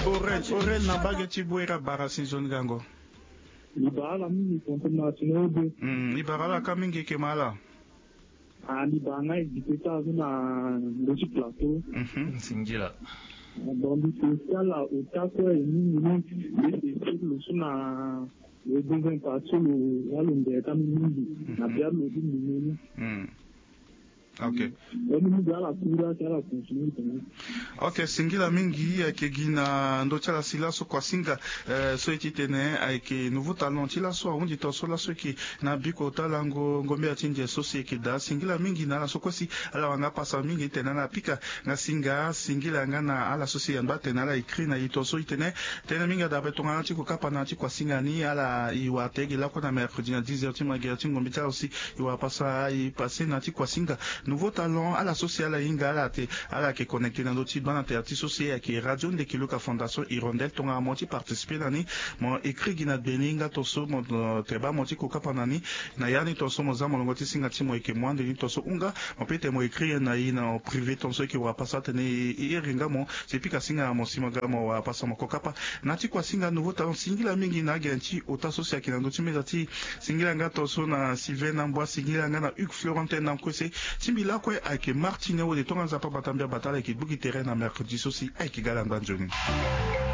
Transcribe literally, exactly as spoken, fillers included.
Orel, Orel na mbage ti Bouera bara si nzoni gango. Libara ala mingi konto na tino ode. Mm, libara ala ka mingi eke ma ala. Ah, libara nga ezite ti azo na ndo ti plateau. Mhm. Singila. Ah, donc mbi spécial ota kue e mingi ni. Mbi spécial lo so na le deuxième partie lo ya lo ndere ti mingi na bia lo ti mbi ni. Mm. Ok. Ok, singila mingi ayeke gi na ndö ti ala si laso kuasinga, eh, so e ti tene ayeke nouveau talent ti laso ahunzi tongaso laso eke na biko ota lango ngombela ti nze so si eke daa. Singila mingi na ala so kue si ala wanga pasa mingi tene ala pika nga singa. Singila nga na ala so si ayamba tene ala écrit na e tongaso e tene tënë mingi adabe tongana ti kokapa na ya ti kuasinga ni. Ala e wara te ge lakue na mercredi na dix heures ti magere ti ngombe ti ala so si e wara pasa e passé na ya ti kuasinga. Nouveau talent ala so si ala hinga ala te ala yeke connecté na ndö ti bana terre ti so si ayeke radio ndeke luka fondation hirondelle tongana mo ti participer na ni, mo écrit gi na gbe ni nga tongaso mo, eh, teba mo ti kokapa na ni. Na ya ni tongaso mo za molongo ti singa ti mo yeke mo ande ni tongaso hunga. Mo peut mo écrit na e na privé tongaso e yeke wara pasa atene e iri nga mo si e pika singa na mo si mo ga mo wara pasa mo kokapa. Na ya ti kuasinga nouveau talent singila mingi na agene ti ota so si ayeke na ndö ti meza ti singila nga tongaso na Sylvain Nambwa, singila nga na Hugues Florentin na Nkwese. Ti mbi lakue ayeke Martine Wode, tongana Nzapa bata mbi abata ala yeke gbu gi tere na mercredi so si ayeke ga ala nda nzoni.